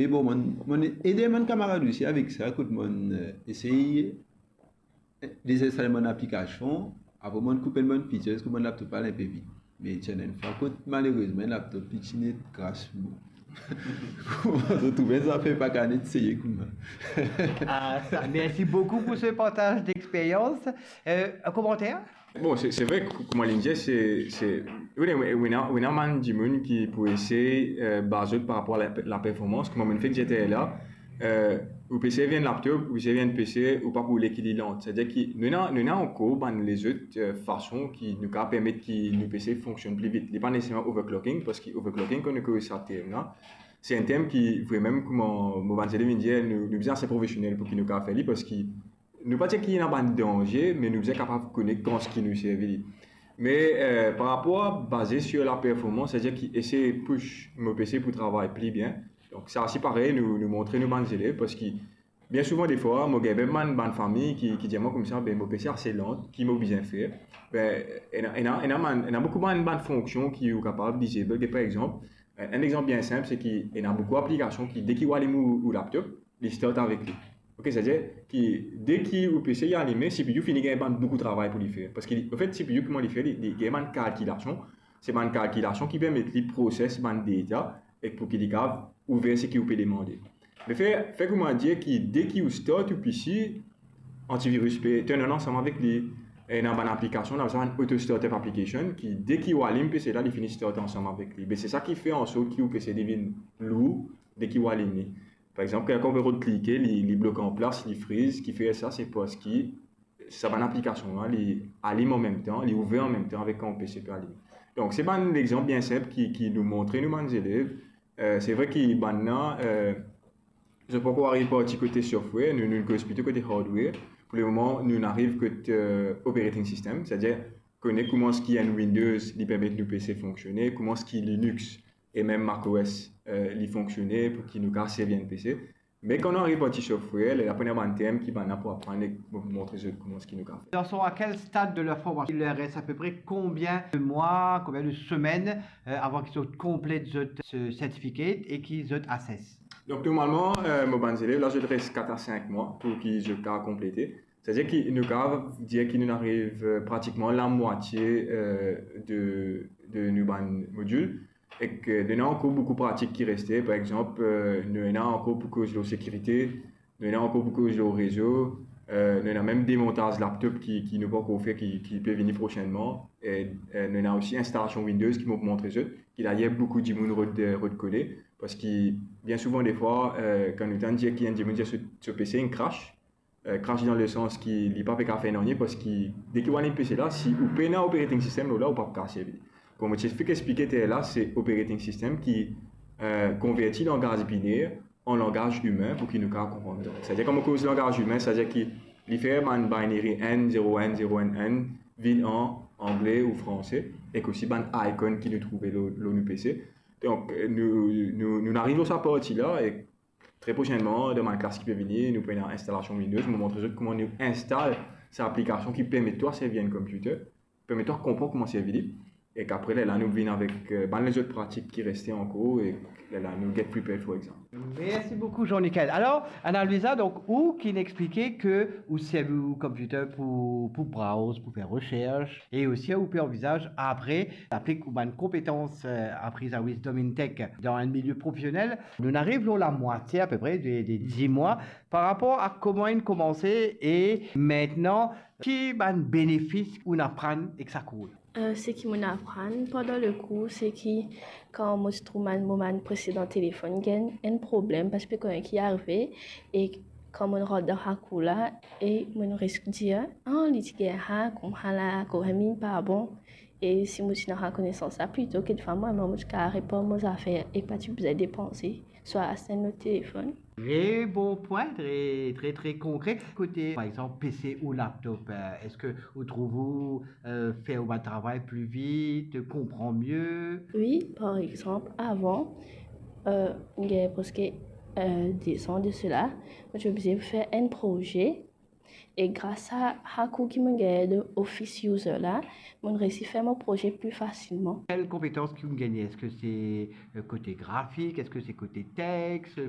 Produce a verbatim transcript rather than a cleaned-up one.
E bon, mo'nn, mo'nn ede bann kamarad osi avek sa, kot mo'nn, eh, esey, eh, dezinstal bann aplikasion, apre mo'nn koup enn bann features, kot bann laptop al enpe vit. Me ti ena enn fwa kot malerezman laptop li ti net kras, bon. Kouma zot trouve zafer pa kapav net seye kouma. Ah, ça, merci beaucoup pour ce partage d'expérience. Euh, un commentaire ? Bon, se, se vre, kou-, kouma li dir, se, se, wi, wi, wi, ena, wi, ena bann dimoun ki pou esey, eh, baz zot par rapor a la, la performans, kouma mo'nn fek dir la, eh, ou pe servi enn laptop, ou pe servi enn PC, ou pa pou oule ki li lant. Savedir ki nou ena, nou ena ankor bann lezot, eh, fason ki nou kapav permet ki nou PC fonksionn pli vit. Li pa neseserman overclocking, parski overclocking, kan nou koz sa term la, se enn term ki vremem, kouma mo bann zelev inn dir, nou, nou bizin ase profesionel pou ki nou kapav fer li, parski nou pa dir ki ena bann danze, me nou bizin kapav kone kan ki nou servi li. Me, eh, par rapor a baze sir la performans, savedir ki esey push mo PC pou travay pli bien. Donk sa osi parey, nou, nou montre nou bann zelev, parski bien souvan defwa, mo gagn bann, bann fami ki, ki dir mwa koumsa, be mo PC ase lant, ki mo bizin fer? Be, ena, ena, ena bann, ena boukou bann, bann fonksion ki ou kapav disable, par exanp, enn, enn exanp bien sinp, se ki ena boukou aplikasion ki, de ki ou alim ou, ou laptop, li start avek li. Ok, savedir ki de ki ou PC alime, CPU fini gagn bann boukou travay pou li fer. Parski li, anfet, CPU kouma li fer, li, li gagn bann kalkilasion. Se bann kalkilasion ki permet li proses bann data ek pou ki li kapav ouver seki ou pe demande. Me fer, fer kouma dir ki de ki ou start ou PC, antivirus pe turn on ansam avek li. Ena bann aplikasion, la sa bann auto startup application, ki de ki ou alim PC la, li fini start ansam avek li. Be se sa ki fer ansort ki ou PC li vinn lour de ki ou alim li. Par exanp, kan ou pe rod klike, li, li blok anplas, li freeze, ki fer sa, se parski sa bann aplikasion la, li alim anmemtan, li ouver anmemtan avek kan ou PC pe alim. Donk, se bann lexanp bien sinp ki, ki nou montre nou bann zelev. Eh, se vre ki bann la, eh, zot pankor ariv parti kote software, nou, nou koz plito kote hardware. Pou lemoman, nou ariv kot, eh, operating system, savedir kone kouma ki enn Windows li permet nou PC fonksione, kouma ki Linux e mem macOS, eh, li fonksione pou ki nou kapav servi enn PC. Me kan nou ariv parti software, lerla pou ena bann term ki bann la pou aprann ek montre zot kouma ki nou kapav fer. Ils en sont à quel stade de leur formation ? Il leur reste à peu près combien de mois, combien de semaines euh, avant qu'ils soient complète zot ce certificate et qu'ils zot assess ? Donk normalman, eh, mo bann zelev la, zot res kat a sink mwa pou ki zot kapav konplete. Savedir ki nou kapav dir ki nou ariv, eh, pratikman lamwatie, eh, de, de nou bann modil. Ek, eh, nou ena ankor boukou pratik ki reste. Par exanp, eh, nou ena ankor pou koz lor sekirite, nou ena ankor pou koz lor rezo, eh, nou ena mem demontaz laptop ki, ki nou pankor fer, ki, ki pe vini prosennman. E, eh, nou ena osi instalasion Windows ki mo pou montre zot, ki dayer boukou dimoun rod, rod kone, parski bien souvan defwa, eh, kan nou tann dir ki enn dimoun dir so, so PC inn crash, eh, crash dan lesans ki li pa pe kapav fer nanye, parski de ki ou alim PC la, si ou pena operating system lor la, ou pa pou kapav servi li. Kouma mo ti fek explike lerla, se operating system ki, eh, konverti langaz biner an langaz imin pou ki nou kapav konpran. Savedir kan mo koz langaz imin, savedir ki li fer bann binary enn zero enn zero enn enn vinn an angle ou franse, ek osi bann icon ki nou trouve lor, lor nou PC. Donk, eh, nou, nou, nou ariv lor sa parti la, e tre prosennman, dan bann klas ki pe vini, nou pou ena instalasion Windows, mo montre zot kouma nou instal sa aplikasion ki permet twa servi enn computer, permet twa konpran kouma servi li, ek apre lerla nou vinn avek, eh, bann lezot pratik ki reste ankor, e lerla nou get prepared for exam. Merci beaucoup Jean-Nickel. Alors, Ana Luisa, donc, ou ki'nn explike ke ou servi ou computer pou, pou browse, pou fer recherche, e osi ou pe anvizaz apre aplik ou bann konpetans, eh, apri a Wisdom in Tech dan enn milie profesionel. Nou'nn ariv lor lamwatie apepre de, de dis mwa. Par rapor a kouma inn koumanse e mintnan, ki bann benefis ou'nn aprann ek sa kour la? Eh, seki mo'nn aprann pandan le kour, seki kan mo ti trouv bann, mo bann presedan telefonn gagn enn problem, pa ti pe kone ki arive, e kan mo'nn rant dan sa kour la, e mo'nn res dir, ah, li ti gagn sa, koumsa la, kouma mem pa bon. E si mo ti ena sa konesans la plito, kekfwa mwa, mo ti kapav repar mo zafer e pa ti bizin depanse, swa aste enn lot telefonn. Très bon point, très, très, très concret. Kote, par exanp, PC ou laptop, eh, eski ou trouv ou, eh, fer ou bann travay pli vit, konpran mie? Wi, par exanp, avan, eh, gagn preske, eh, de zan de sela, mo ti oblize fer enn proze, E gras a, a kour ki mo gagn de Office User la, mo resi fer mo proze pli fasilman. Quelles compétences que vous gagnez? Est-ce que c'est euh, côté graphique? Est-ce que c'est côté texte?